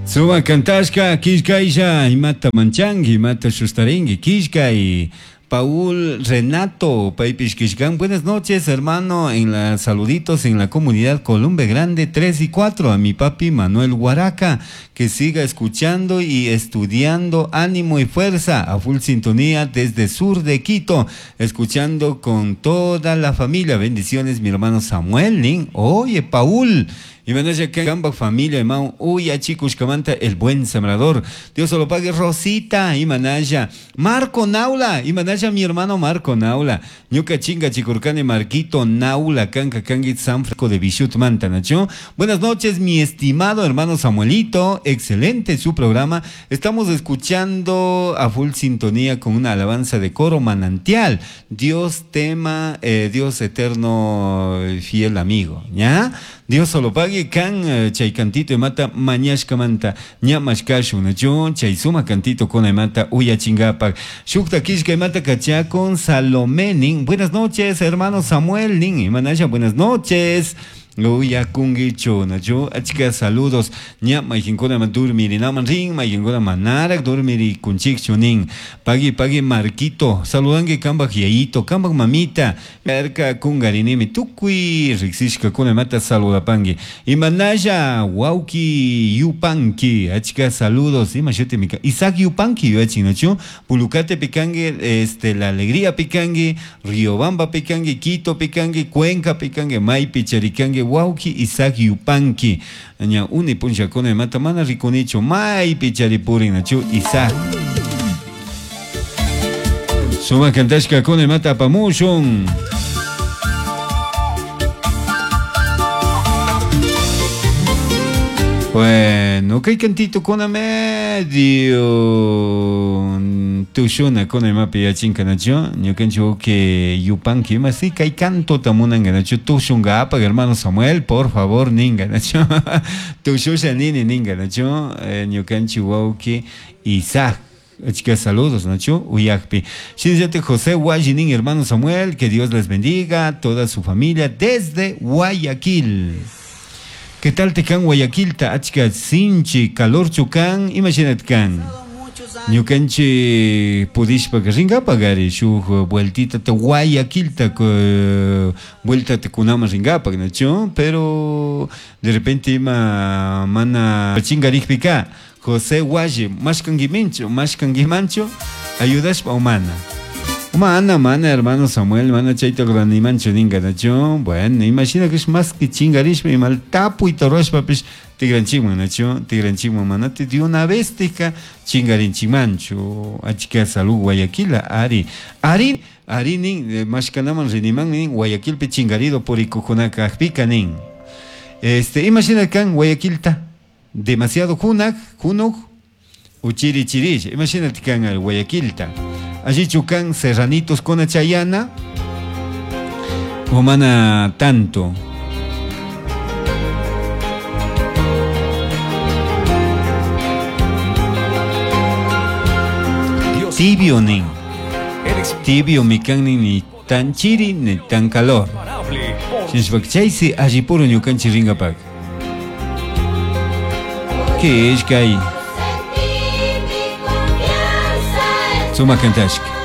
Sumak kantashka killkaylla imata manchanki imata shustarinki killkay Paul Renato paypish killkan buenas noches hermano en la saluditos en la comunidad Columbe Grande 3 y 4 a mi papi Manuel Huaraca que siga escuchando y estudiando ánimo y fuerza a full sintonía desde sur de Quito escuchando con toda la familia bendiciones mi hermano Samuel nin oye Paul Imanasha kambaj familia imawan uyachikushkamanta el buen sembrador. Dios lo pague Rosita imanasha Marco Naula imanasha mi hermano Marco Naula. Ñuka chingachikurkani Marquito Naula kanka kanki San Francisco de Bichutmanta nachu. Buenas noches mi estimado hermano Samuelito, excelente su programa. Estamos escuchando a full sintonía con una alabanza de coro manantial. Dios tema, Dios eterno fiel amigo, ¿ya? Dios solo pague kan chay cantito imata mañashkamanta ña mashkashun nachu chay suma cantito kuna imata uyachingapak. Shukta killka imata kachakun Salomé nin. Buenas noches hermano Samuel nin. Imanasha buenas noches. Uyakunkichu nachu achka saludos ña mayqinkuna durmirinaman rin mayqinkuna manaraq dormirikunchikchu nin pagui pagui Marquito saludanki kambaj yayito kambaj mamita yarka kungarinimi tukuy riqsishkakuna imata saludapanki imanalla wawki Yupanki achka saludos ima shutimi Isaac Yupanki yuyachin nachu Pulucate pikanki este La Alegría pikanki Riobamba pikanki Quito pikanki Cuenca pikanki maypi charikanki wawki Isaac Yupanki ña uni punllakuna imata mana rikunichu maypi charipurin nachu Isaac Sumak kantashkakuna imata apamushun. Bueno, kay cantito kuna medio tushuna kuna imapi yachinka nachu ñukanchik wawki Yupanki ima si kay cantota munanka nachu tushunkapak hermano Samuel por favor ninka nachu tushusha nini ninka nachu ñukanchik wawki Isaac Achka saludos, Nacho, Uyakpi. Shinallatik José Guayinin, hermano Samuel, que Dios les bendiga, toda su familia desde Guayaquil. ¿Qué tal te kan Guayaquilta? Achka sinchi, calorchu kan, imagínate kan. Ñukanchik pudishpaka rinkapak ari shuk vueltita te Guayaquilta vuelta te kunaman rinkapak nachu, pero de repente ima mana chingarikpika José Guaye, mashkankimanchu, mashkankimanchu, ayudashpa o mana. Mana, mana, hermano Samuel, mana chayta ruranimanchu ninka nachu. Bueno, imagina que es más que chingarishpa imal tapuy ruashpapish tigranchikman nachu, tigranchikman mana de una vez tika chingarinchikmanchu. Achka salud Guayaquila, ari, ari, ari nin, mashkanaman riniman nin, Guayaquilpi chingarido purikukunaka kajpika nin. Este, imagina kan Guayaquilta, demasiado junak, junuk, uchiri chirish, imagínate kan al Guayaquilta. Allí chucan serranitos con chayana, o mana tanto. Dios Tibio nin. Eres Tibio mi kan ni, ni tan chiri ni tan calor. imparable por Shinashpaka chaysi allipuro ñukanchik rinkapak. ¿Qué es que hay? Sumak kantashka.